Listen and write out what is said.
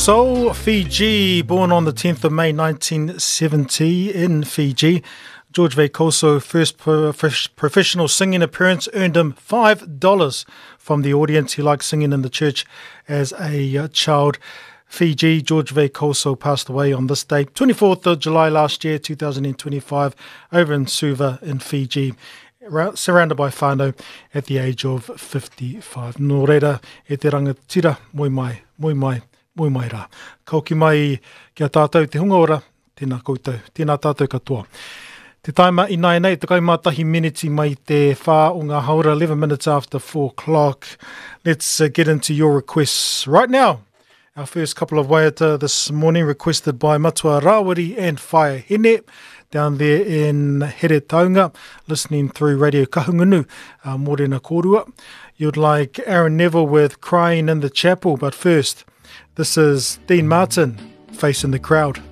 Soul Fiji, born on the 10th of May 1970 in Fiji. George Veikoso first professional singing appearance earned him $5 from the audience. He liked singing in the church as a uh, child. Fiji, George Veikoso passed away on this date, 24th of July last year, 2025, over in Suva in Fiji surrounded by whānau at the age of 55. Nō reira, e te rangatira, moe mai, moe mai, moe mai rā. Ka hoki mai ki a tātou te hunga ora, tēnā koutou, tēnā tātou katoa. Te taima ināianei, 11 miniti mai te whā o ngā haora, 11 minutes after 4 o'clock. Let's uh, get into your requests right now. Our first couple of waiata this morning requested by Matua Rawiri and Whaea Hene down there in Heretaunga, listening through Radio Kahungunu, uh, Morena Kōrua. You'd like Aaron Neville with Crying in the Chapel, but first, this is Dean Martin, Facing the Crowd.